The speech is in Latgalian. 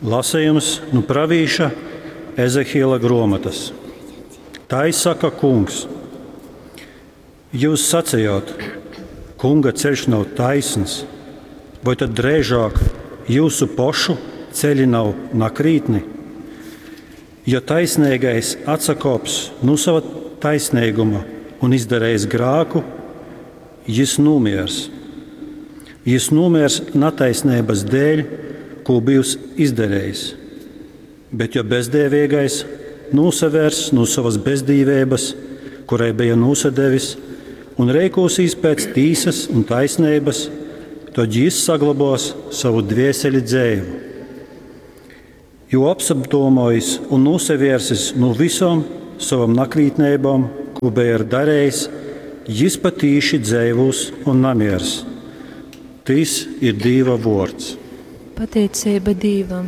Lasījums nu pravīša Ezehiela gruomotas. Tai saka kungs. Jūs sacījāt, kunga ceļš nav taisns, vai tad drēžāk jūsu pošu ceļi nav nakrītni? Ja taisnīgais atsakops no sava taisnīguma un izdarījis grāku, jis nomiers. Jis nomiers nataisnības dēļ, ko bijis izdarījis. Bet ja bezdēvīgais nosavērs no savas bezdīvības, kurai bija nosadevis, un reikosīs pēc tīsas un taisnības, tad jis saglabos savu dvieseli dzēvu. Jo apsadomojis un nosavērsis no visām savam nakrītnībām, ko bija darījis, jis patīši dzēvos un namiers. Tis ir Dīva vords. Pateicība Dīvam.